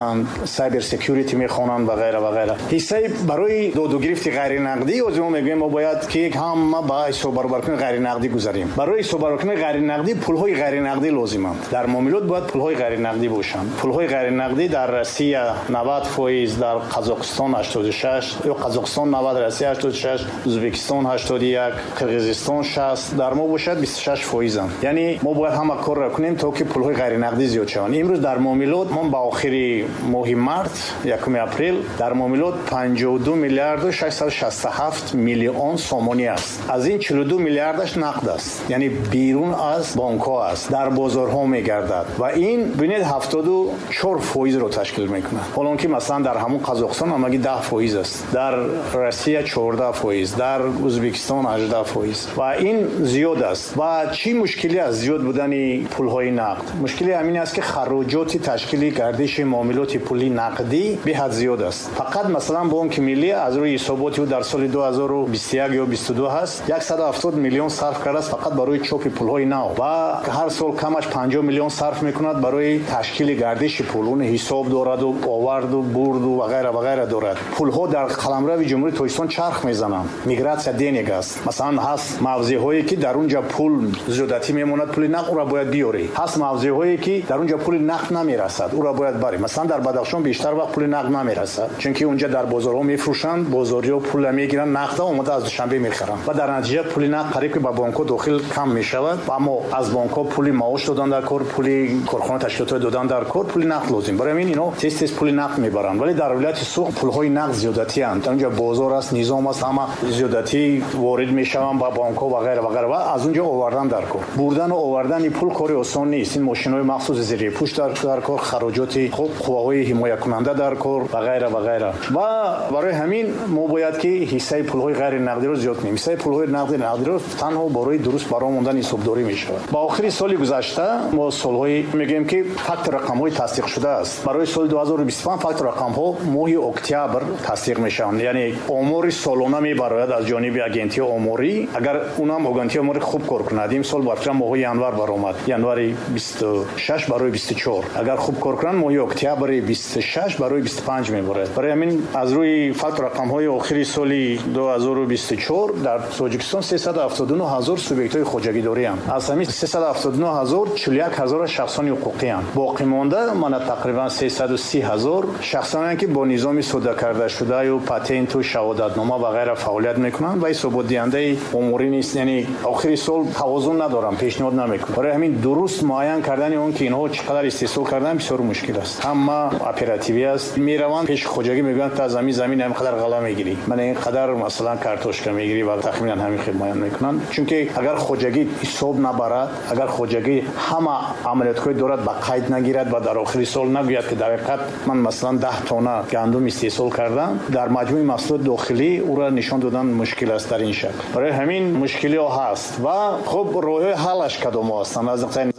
Cyber security мехонанд ва ғайра ва ғайра. Ҳиссаи барои доду гирифти ғайринақдӣ ҳозир мо мегӯем, мо бояд ки ҳама ба ҳисоббаробаркунии ғайринақдӣ гузарем. Барои ҳисоббаробаркунии ғайринақдӣ пулҳои ғайринақдӣ лозиманд. Дар муомилот бояд пулҳои ғайринақдӣ бошанд. Пулҳои ғайринақдӣ дар Россия 90%, дар Қазоқистон 86, ё Қазоқистон 90, Россия 86, Ӯзбекистон 81, Қирғизистон 60, дар мо бошад 26%. Яъне мо бояд ҳама корро кунем, то ки пулҳои ғайринақдӣ зиёд шаванд. Имрӯз дар муомилот мо ба охири моҳи март, 1 апрел, дар муомилот 52 миллиарду 667 миллион сомонӣ аст. Аз ин 42 миллиардаш нақд аст, яъне берун аз бонкҳо аст, дар бозорҳо мегардад ва ин бинед 74%-ро ташкил мекунад. Ҳолон ки масалан дар ҳамон Қазоқистон ҳамагӣ 10% аст, дар Россия 14%, дар Ӯзбекистон 18% ва ин зиёд аст. Ва чӣ мушкиле аст зиёд будани пулҳои нақд? Мушкили ҳамин аст, ки хароҷоти ташкили гардиши муомилоти пули нақдӣ беҳад зиёд аст. Фақат масалан Бонки Миллӣ аз рӯи ҳисоботи ӯ дар соли 2021 ё 22 ҳаст, 170 миллион сарф кардааст фақат барои чопи пулҳои нав ва ҳар сол камаш 50 миллион сарф мекунад барои ташкили гардиши пул. Он ҳисоб дораду оварду бурду ва ғайра ва ғайра дорад. Пулҳо дар қаламрави Ҷумҳурии Тоҷикистон чарх мезананд. Мигратсия денег аст. Масалан ҳаст мавзеъҳое, ки дар он ҷо пул зиёдатӣ мемонад, пули нақд ӯро бояд биёрӣ. Ҳаст мавзеъҳое, ки дар он ҷо пули нақд намерасад, ӯро бояд барӣ. Масалан дар Бадахшон бештар вақт пули нақд намерасад, чунки онҷа дар бозорҳо мефурӯшанд, бозориҳо пулро мегиранд, нақдро омода аз Душанбе мехаранд ва дар натиҷа пули нақд қариб ки ба бонкҳо дохил кам мешавад. Аммо аз бонкҳо пули маош додан дар кор, пули корхона ташкилотҳо додан дар кор, пули нақд лозим. Барои ҳамин инҳо тез тез пули нақд мебаранд. Вале дар вилояти Суғд пулҳои нақд зиёдатианд. Дар онҷа бозор аст, низом аст, ҳама зиёдатӣ ворид мешаванд ба бонкҳо ва ғайра ва ғайра ва аз онҷо овардан дар кор. Бурдану овардани пул кори осон нест. Ин мошинҳои махсуси зирепӯш дар кор, хароҷоти хуб, қувваҳои ҳимоякунанда дар кор ва ғайра ва ғайра. Ва барои ҳамин мо бояд ки ҳиссаи пулҳои ғайринақдиро зиёд кунем. Ҳиссаи пулҳои нақдиро танҳо барои дуруст барои мондани ҳисобдорӣ мешавад. Ба охири соли гузашта мо солҳои мегӯем, ки фактор рақамҳои тасдиқ шудааст. Барои соли 2025 фактор рақамҳо моҳи октябр тасдиқ мешаванд. Яъне омори солона мебарояд аз ҷониби агентии оморӣ. Агар унам агентии оморӣ хуб кор кунад, имсол ба фикрам моҳи январ баромад, январи 26 барои 24. Агар хуб кор кунанд, моҳи октябри 26 барои 25 мебарад. Барои ҳамин аз рӯи фактор рақамҳои охири соли 2024 дар Тоҷикистон 379 ҳазор субъектҳои хоҷагидорианд. Аз ҳамин 379 ҳазор 41 ҳазор шахсони ҳуқуқианд. Боқӣ монда мана тақрибан 330 ҳазор шахсоне, ки бо низоми сода карда шудаю патенту шаҳодатнома ва ғайра фаъолият мекунанд ва ҳисоботдиҳандаи оморӣ нест. Яъне охири сол тавозун надоранд, пешниҳод намекунанд. Барои ҳамин дуруст муайян кардани он ки инҳо чӣ қадар истеҳсол карданд бисёр мушкил аст. Ҳама оперативӣ аст. Мераванд пеши хоҷагӣ, мегӯянд ту аз ҳамин замин ҳамин қадар ғала мегирӣ, мана ин қадар масалан картошка мегирӣ ва тахминан ҳамин хел муайян мекунанд. Чунки агар хоҷагӣ ҳисоб набарад, агар хоҷагӣ ҳама амалиётҳои дорад ба қайд нагирад ва дар охири сол нагӯяд, ки дар ҳақиқат ман масалан 10 тонна гандум истеҳсол кардам, дар маҷмӯи маҳсулоти дохилӣ ӯро нишон додан мушкил аст дар ин шакл. Барои ҳамин мушкилиҳо ҳаст ва хуб роҳҳои ҳаллаш кадомҳо ҳастанд аз нуқтаи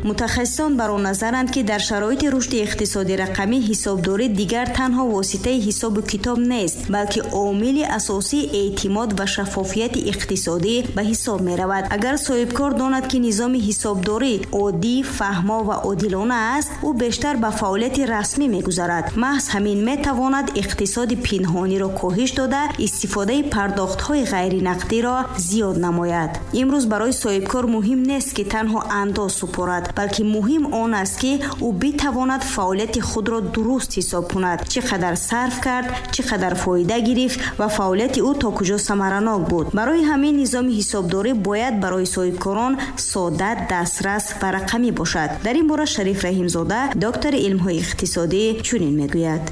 Мутахассисон бар он назаранд, ки дар шароити рушди иқтисоди рақамӣ ҳисобдорӣ дигар танҳо воситаи ҳисобу китоб нест, балки омили асосии эътимод ва шаффофияти иқтисодӣ ба ҳисоб меравад. Агар соҳибкор донад, ки низоми ҳисобдорӣ оддӣ, фаҳмо ва одилона аст, ӯ бештар ба фаъолияти расмӣ мегузарад. Маҳз ҳамин метавонад иқтисоди пинҳониро коҳиш дода, истифодаи пардохтҳои ғайринақдиро зиёд намояд. Имрӯз барои соҳибкор муҳим нест, ки танҳо андоз супорад, балки муҳим он аст, ки ӯ битавонад фаъолияти худро дуруст ҳисоб кунад, чӣ қадар сарф кард, чӣ қадар фоида гирифт ва фаъолияти ӯ то куҷо самаранок буд. Барои ҳамин низоми ҳисобдорӣ бояд барои соҳибкорон сода, дастрас ва рақамӣ бошад. Дар ин бора Шариф Раҳимзода, доктори илмҳои иқтисодӣ, чунин мегӯяд.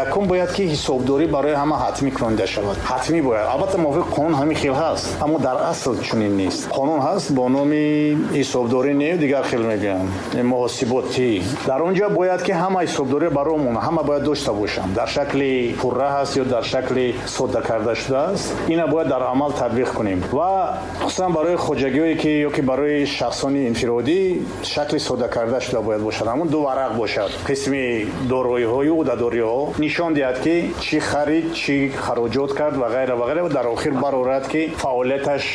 Якум бояд ки ҳисобдорӣ барои ҳама ҳатмӣ кунонида шавад. Ҳатмӣ бояд. Албатта мувофиқи қонун ҳамин хел ҳаст, аммо дар асл чунин нест. Қонун ҳаст бо номи ҳисобдорӣ не, дигар хел мегӯянд, муҳосиботӣ. Дар он ҷо бояд ки ҳама ҳисобдорӣ барои мо ҳама бояд дошта бошанд. Дар шакли пурра ҳаст ё дар шакли сода карда шудааст, ина бояд дар амал татбиқ кунем. Ва хусусан барои хоҷагиҳое ки ё ки барои шахсони инфиродӣ шакли сода карда шуда бояд бошад. Ҳамон ду варақ бошад. Қисми дороиҳою ӯҳдадориҳо Нишон диҳад, ки чӣ харид, чӣ хароҷот кард ва ғайра ва ғайра, ва дар охир барорад, ки фаъолияташ